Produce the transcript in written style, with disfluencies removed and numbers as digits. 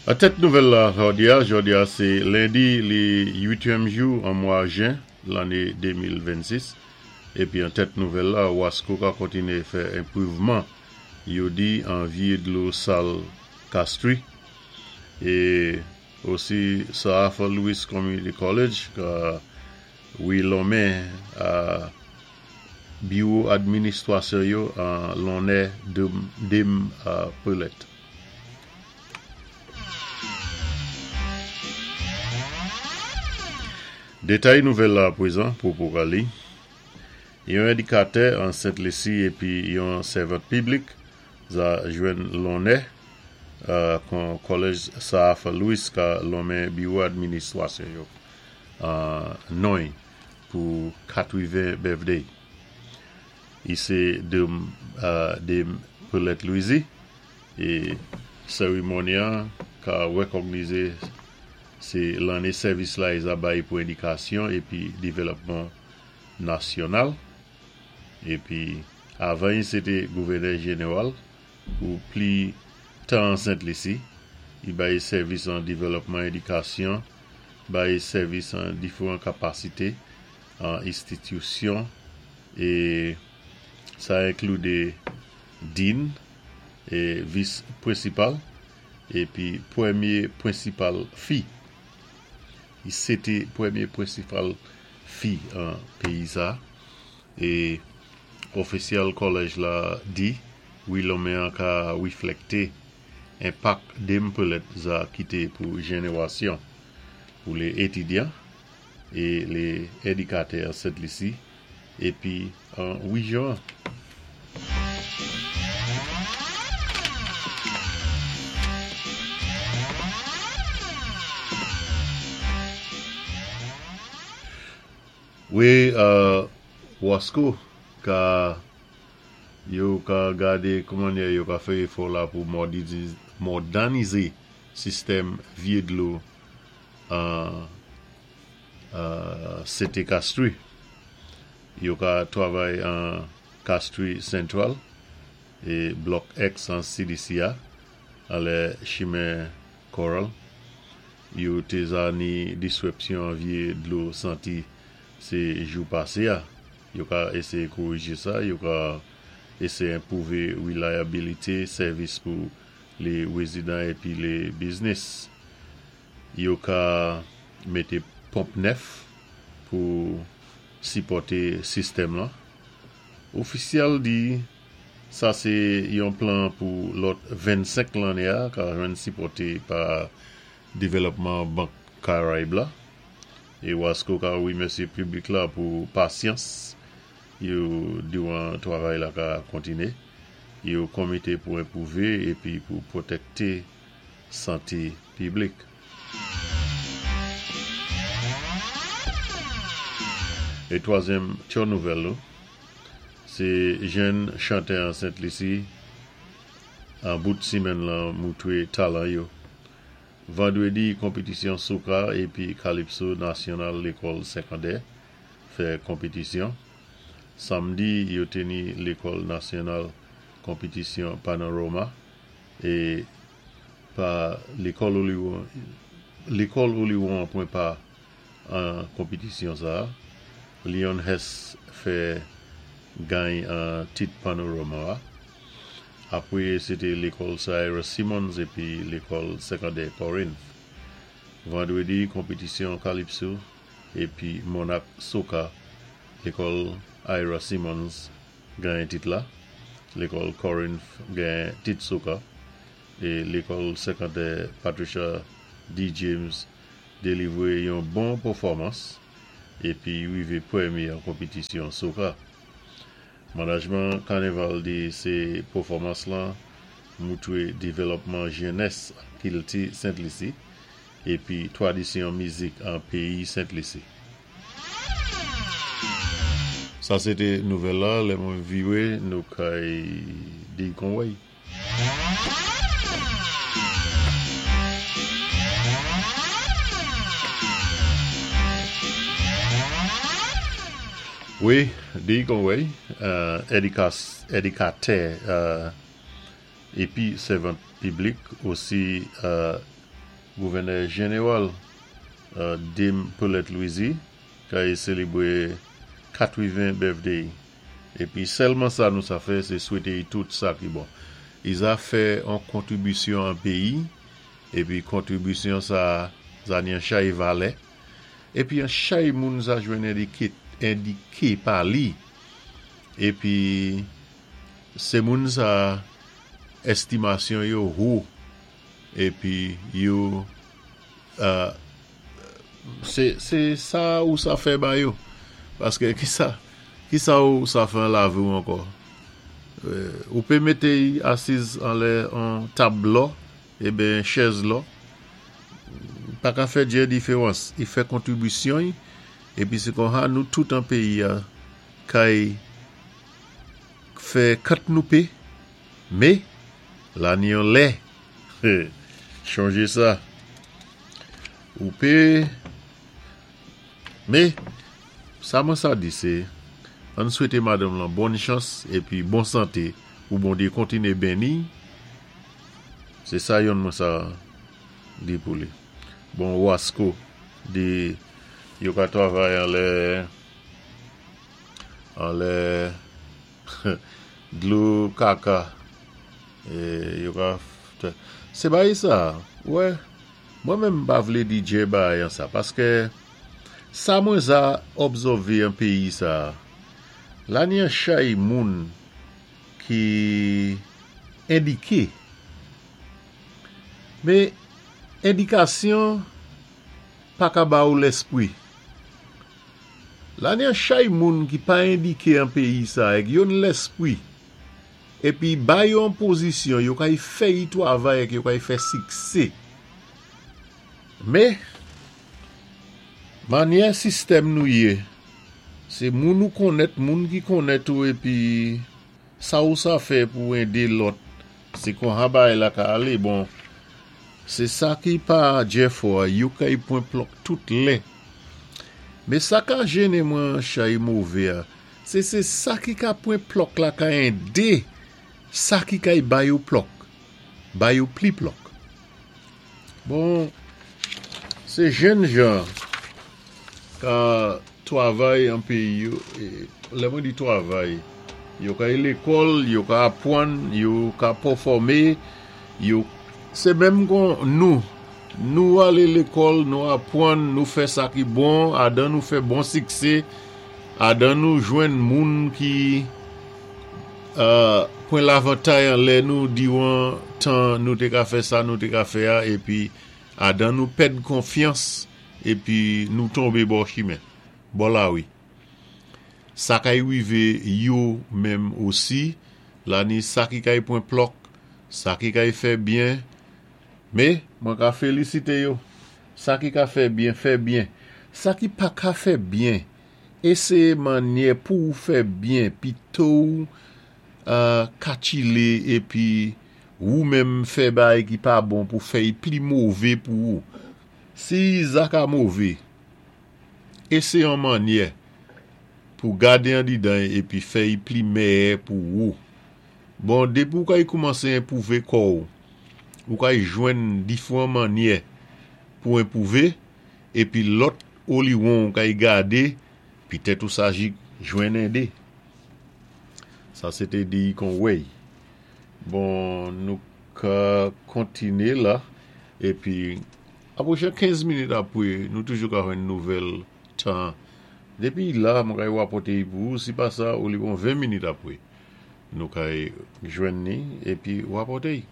An tèt nouvèl la jòdi a, jòdi a sé lendi li uityèm jou an mwa jen lanné 2026, épi an tèt nouvèl la Wasco ka kontiné fè enpruvman yo di an vyé dlo sal Castries é osi Sir Arthur Lewis Community College ka wi lonmen a biwo administwasyon yo an lonnè Dame Pearlette. Détay nouvèl la apwézan pou pou ka li. Yon édikatè an Sent Lisi épi yon sèvant piblik za jwenn lonnè kon Kòlèj Sir Arthur Lewis ka lonmen biwo administwasyon yo an non-y pou 80 birthday. I sé Dame Pearlette Louisy é sérimoni an ka wékògnizé sé lanné sèvis la i za bay pou édikasyon épi dévlòpman nasyonal. Épi avan i sé té gouvènè jénéwal pou pli tan an Sent Lisi, i bay sèvis an dévlòpman édikasyon, bay sèvis an diféwan kapasité an institisyon é sa enkli dean é vis prensipal épi pwémyé prensipal fi. I sé té pwémyé prensipal fi an péyi sa é ofisyèl kòlèj la di wi lonmen an ka wiflèkté enpak Dame Pearlette za kité pou jénéwasyon pou lé étidyan é lé édikatè Sent Lisi épi an wéjyon an. Wi, Wasco ka yo ka gadé koumannyè yo ka fè éfò la pou mòdanizé sistèm vyé dlo an Sité Castries. Yo ka twavay an Castries Central é Block X an CDC a anlè chimen Coral. Yo té za ni diswépsyon an vyé dlo santi sé jou pasé a. Yo ka éséyé korijé sa, yo ka éséyé enpwouvé wilayabilité sèvis pou lé wézidan épi lé biznis. Yo ka mété ponp nèf pou sipòté sistèm lan. Ofisyèl di sa sé yon plan pou lòt 25 lanné a ka jwenn sipòté pa Dévlòpman Bank Karayib la. É Wasco ka wimèsyé piblik la pou pasyans yo diwan twavay la ka kontiné. Yo konmité pou enpwouvé épi pou pwotèkté santé piblik. É twazyèm tyo nouvèl nou, sé jenn chantè an Sent Lisi an bout simenn lan moutwé talan yo. Vandwédi konpitisyon soka épi kalipso nasyonal lékòl sékondè fè konpitisyon. Samdi yo té ni lékòl nasyonal konpitisyon panorama é pa lékòl lékòl Oliwon an pwan pa an konpitisyon sa. Leon Hess fè gany an tit panorama a. Apwé sé té lékòl Sir Ira Simmons épi lékòl sékondè Corinth. Vandwédi konpitisyon kalipso épi Monarch Soca lékòl Ira Simmons ganyen tit la. Lékòl Corinth genyen tit soca é lékòl sékondè Patricia D. James délivwé yon bon pèfòmans épi wivé pwémyé an konpitisyon soca. Manajman Kanéval di sé pèfòmans lan moutwé dévlòpman jènès kilti Sent Lisi épi twadisyon mizik an péyi Sent Lisi. Sa sé té nouvèl la, lè mwen viwé nou kay di konwèy. Wi, di konwèy, édikatè épi sèvant piblik osi. Gouvènè Jénéwal Dame Pearlette Louisy kay sélébwé 80 birthday. Épi sèlman sa nou sa fè sé swété i tout sa ki bon. I za fè on kontribisyon an péyi épi kontribisyon sa za ni an chay valè épi an chay moun za jwenn endiké endiké pa li épi sé moun sa èstimasyon yo wo épi yo Se se sa ou sa fè ba yo. Paske kisa kisa ou sa fè an lavi ou ankò. Ou pe mete y asiz anlè on tab lò eben chèz lò. Pa ka fè djè diferans. Y fè kontribisyon y epi se konha nou tout an peyi a kay fè kant nou pe. Me la ni yon lè. Chonje sa. Ou pe Me sa mwen sa di se ann swete madanm lan bòn chans epi bon sante pou Bondye kontinye beni se sa yonn mwen sa di pou li bon Wasko di yo ka travay anlè anlè Dlo kaka yo ka se bagay sa wè mwen menm m pa vle di dje bagay an sa paske sa mwen za obzòve an peyi sa la ni an chay moun ki endike men endikasyon pa ka ba ou lèspri. La ni an chay moun ki pa endike an peyi sa èk yo n lèspwi épi ba yo an pozisyon yo kay fè yi twavay èk yo kay fè siksé. Mé manyè sistèm nou yé sé moun ou konnèt moun ki konnèt ou épi Sa ou sa fè pou ede lòt se konha bagay la ka ale bon se sa ki pa djèfò a yo kay pwen plòk tout lè me sa ka jene mwen an chay move a se se sa ki ka pwen plòk la ka ede sa ki kay ba yo plòk ba yo pli plòk bon se jènjan Ka twavay an peyi yo, lè mwen di twavay, yo ka al lekòl, yo ka apwann, yo ka pòfòme, yo, se menm kon nou, nou ale lekòl, nou apwann, nou fè sa ki bon, adan nou fè bon sikse, adan nou jwenn moun ki pwen lavantay anlè nou diwan tan nou te ka fè sa nou te ka fè a, epi adan nou pèd konfyans. Epi nou tonbe bò chimen, bò lari. Sa kay rive yo menm osi, la ni sa ki kay pwen plòk, sa ki kay fè byen. Me, mwen ka felisite yo. Sa ki ka fè byen, fè byen. Sa ki pa ka fè byen, eseye manyè pou ou fè byen pito ou katchile epi wou menm fè bagay ki pa bon pou fè y pli move pou ou. Si zak a move, eseye yon mannyè pou gade andidan y epi fè y pli mèyè pou wou. Bon, depi ou kay koumanse enpwouve kò ou, ou kay jwenn difwan mannyè pou enpwouve epi lòt oliwon ou kay gade, pitèt ou sajik jwenn ende. Sa se te di kon wey. Bon, nou ka kontine la. Epi, apwoche 15 minit apre, nou toujou ka jwenn nouvèl tan. Depi la, mwen kay rapòte li pou ou, si pa sa, ou li bon 20 minit apre. Nou kay jwenn ni, epi rapòte li.